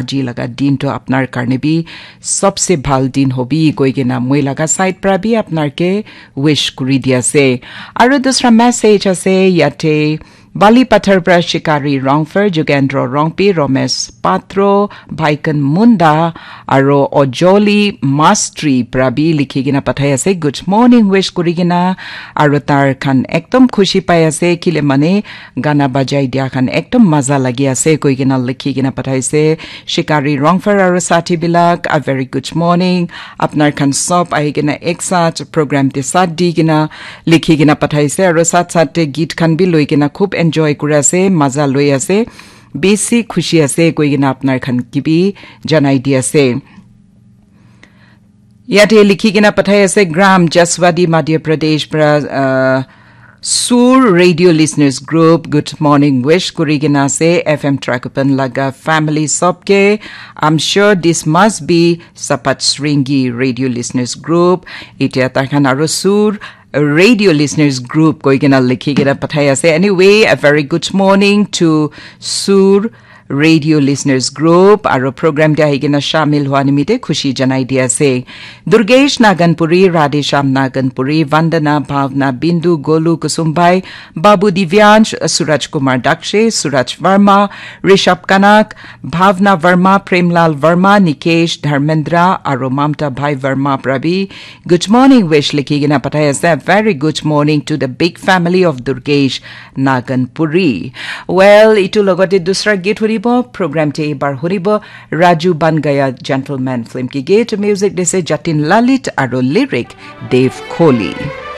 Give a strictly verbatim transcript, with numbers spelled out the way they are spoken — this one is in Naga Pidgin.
Aji laga din to apnar karne bi sabse bhal din hobi koi kena moi laga side pra bi apnar ke wish kuri di ase. Aru dusra message ase yate Bali Pathar pra Shikari Rongfer, Jugendro Rongpi, Romesh Patro, Baikan Munda, aro Ojoli Mastri pra bi likhi kena pathai ase. Good morning wish kuri kena, aro tar khan ekdom khushi pai ase, kile mane gana bajai dia khan ekdom maza lagi ase koi kena likhi kena pathaise. Shikari Rongfer aro sathi bilak, a very good morning. Apnar khan sob ahi kena ek saath program te saath di kena likhi kena pathaise aro saath saath te geet khan bi loi kena khub enjoy kuri ase, maza loi ase, besi khushi ase koi kena apnar khan ke bi janai di ase. Yate likhi kena pathai ase Gram Jaswadi Madhya Pradesh pra, uh, Sur Radio Listeners Group, good morning wish kuri kena ase F M Trakupan laga family sob ke. I'm sure this must be Sapat Sringi Radio Listeners Group. Itia takhan aro Sur Radio Listeners Group koi kena likhi kena pathai ase. Anyway, a very good morning to Sur Radio Listeners Group aro program te ahi kena shamil hua nimite khushi janai di ase. Durgesh Naganpuri, Radhe Shyam Naganpuri, Vandana, Bhavna, Bindu, Golu, Kusumbai, Babu Divyansh, Suraj Kumar Dakshe, Suraj Verma, Rishabh Kanak, Bhavna Verma, Premlal Verma, Nikesh, Dharmendra, aro Mamta Bhai Verma pra bi good morning wish likhi kena pathai ase. A very good morning to the big family of Durgesh Naganpuri. Well, itu logote dusra git huribo, program te ibar huribo, Raju Bangaya Gentleman film ki git, music dise Jatin Lalit aro lyric Dev Kohli.